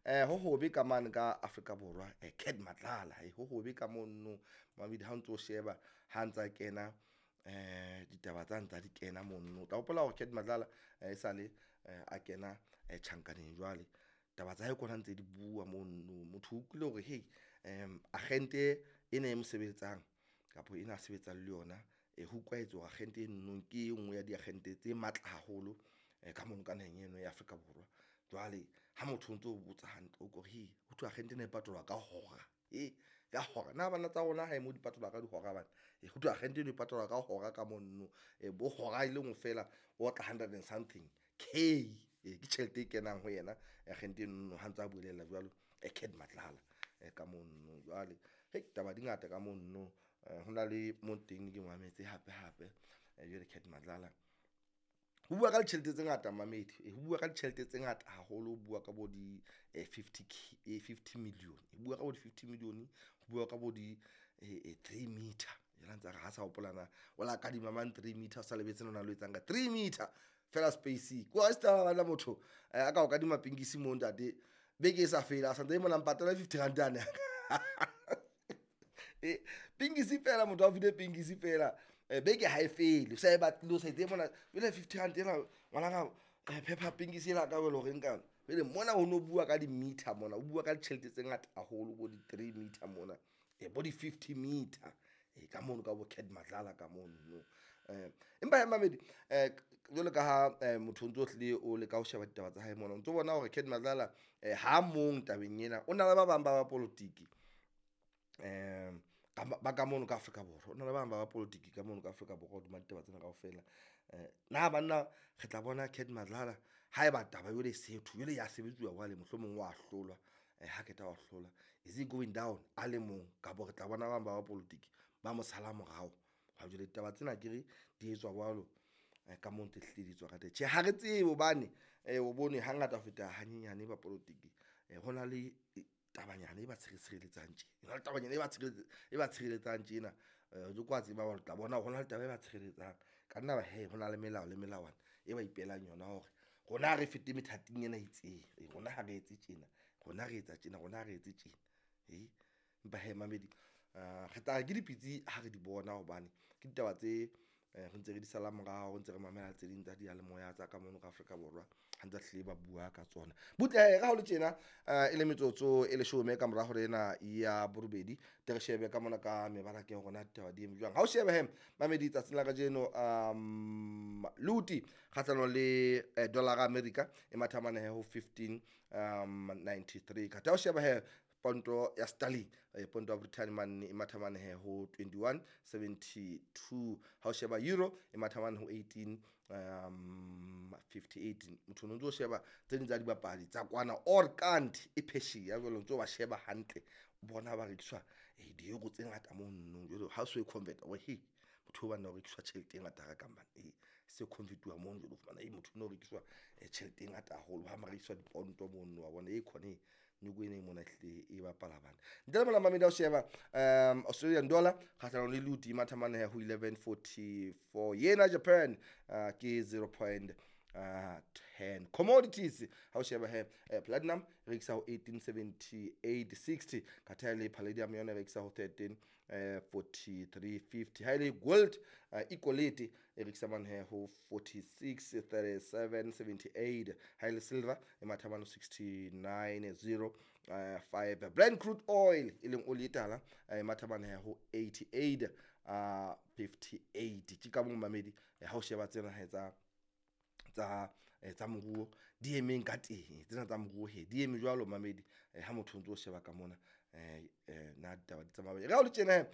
Ho hobe ka mane ka Afrika Borwa, Cat Matlala, ho hobe ka mono mamedi ha o ntso sheba ha ntsa kena ditaba tsa ntsa di kena mono. O tla hopola hore Cat Matlala e sale a kena tjhankaneng jwale. Taba tsa hae kona ntse di bua mono. Motho o utlwile hore hey agente ena e mo sebeletsang kapa ena a sebetsang le yona, ho utlwahetse hore agente eno ke e nngwe ya diagente tse matla haholo ka mono ka naheng eno ya Afrika Borwa. Jwale ha motho o ntso botsa hantle, o ko re hee ho thwe agente ena e patalwa ka hora e ka hora. Na bana tsa rona hae mo di patalwa ka dihora bana? Ho thwe agente eno e patalwa ka hora ka mono, bo hora e le nngwe feela o otla hundred and something K. Ke tjhelete e kenang ho yena agente eno ha ntsa bulela jwalo Cat Matlala ka mono. Jwale hei taba di ngata ka mono, hona le mo teng ke mametse hape hape jwale Cat Matlala ho bua ka ditjhelete tse ngata mamedi, ho bua ka ditjhelete tse ngata haholo, ho bua ka bo di 50 K, 50 million, ho bua ka bo di 50 million, ho bua ka bo di 3 meter. Yena ntse a re ha sa hopola na o la kadima mang 3 meter, o sa lebetse na lo etsang ka 3 meter fela space. Ko a se bana motho a ka o kadima pinkisi mo ntate beke e sa fela, a santse mona mpatala 50 rand ane. Pinkisi fela motho a file pinkisi fela beke ha e fele, o sa e batlile o sa etse mona jwale 50 rand ena ngwanaka, phepha pinkisi ena ka jwale hore nka jwale mona ho no bua ka di-meter mona, o bua ka ditjhelete tse ngata haholo bo di-3 meter mona, bo di-50 meter ka mono ka bo Cat Matlala ka mono. Empa he mamedi, jwalo ka ha motho o ntso hlile o leka ho sheba ditaba tsa hae mona, o ntso bona hore Cat Matlala ha mong tabeng ena, o na le ba bang ba bapolotiki ba ka mono ka Afrika Borwa, o na le ba bang ba bapolotiki ka mono ka Afrika Borwa hodima ditaba tsena kaofela. Na banna re tla bona Cat Matlala haeba taba jwale e setho jwale ya sebetsuwa jwale, mohlomong wa hlolwa, ha qeta wa hlolwa, is he going down a le mong, kapa re tla bona ba bang ba bapolotiki ba mo sala morao? Ha jwale ditaba tsena akere di etswa jwalo ka moo ntse hlile di etswa ka teng. Tjhe, ha re tsebe hobane o bone hangata ho feta hanyenyane bapolotiki ho na le tabanyana e ba tshireletsang tje, hona le tabanyana e ba tshireletsang tjena. Jwalo ka tseba hore tla bona hore hona le taba e ba tshireletsang. Ka nna ba hee hona le melao le melawana e ba ipehelang yona hore rona ha re fete methating ena e itseng, rona ha re etse tjena, rona re etsa tjena, rona ha re etse tjena. Empa hee mamedi, re tla re ke dipitsi ha re di bona hobane ke ditaba tse re ntse re di sala morao, ntse re mamela tse ding tsa diyalemoya tsa ka mono ka Afrika Borwa ha ntse hlile ba bua ka tsona. Butle re ha o le tjena e le metsotso e leshome ka mora hora ena ya borobedi, tle re shebe ka mona ka mebaraka ya rona ditaba di eme jwang. Ha o shebe he mamedi tsatsing la kajeno, luti kgahlanong le dollar America e matha mane ho 15.93. Khatha o sheba he ponto ya sterling, ponto ya Britain mane e matha mane he ho 21.72. Ha o sheba euro e matha mane ho 18.58. Motho o ntso sheba tse ding tsa dibapadi tsa kwana or kant e phesheya jwale o ntso ba sheba hantle, o bona ba rekiswa di-euro tse ngata mono. Jwale ha o so e convert o he motho o banna o rekiswa tjhelete e ngata ka man, se convertuwa mono jwale o fumana motho o rekiswa tjhelete e ngata haholo, ha rekiswa diponto mono wa bona e khone nyoko ena e mona hlile e bapala bana. Ntle le mona mamedi ha o sheba Australian dollar kgahlanong le luti e matha mane ho 11.44, yena Japan ke 0.10. Commodities ha o sheba he platinum e rekisa ho 1878.60, katha le palladium yona e rekisa ho 13.43.50. Ha ile gold equality e rekisa mane he ho 46.37.78. Ha ile silver e matha mane 69.05. Brent crude oil e leng oli e tala e matha mane he ho 88.58. Ke ka mo mamedi ha o sheba tsena he tsa moruo di emeng ka teng, tsena tsa moruo he di eme jwalo mamedi ha motho o ntso sheba ka mona na ditaba di tsamaya. Re ha o le tjena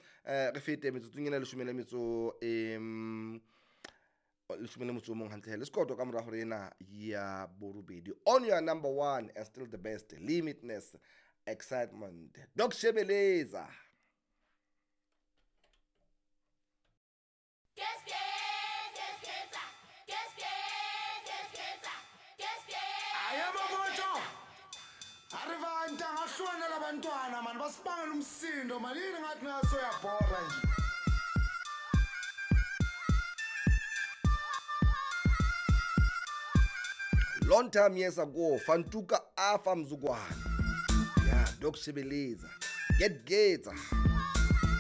re fete metsotsong ena leshome le metso leshome le motso o mong hantle le sekoto ka mora hore ena ya borobedi. On your number one and still the best, limitless excitement, Doc Shebeleza. Abantwana mani basibangela umsindo mani, yini ngathi naso uyabhora nje. Long time years ago, Fantuka afa mzukwana. Ya, Doc Shebeleza. Get getsa.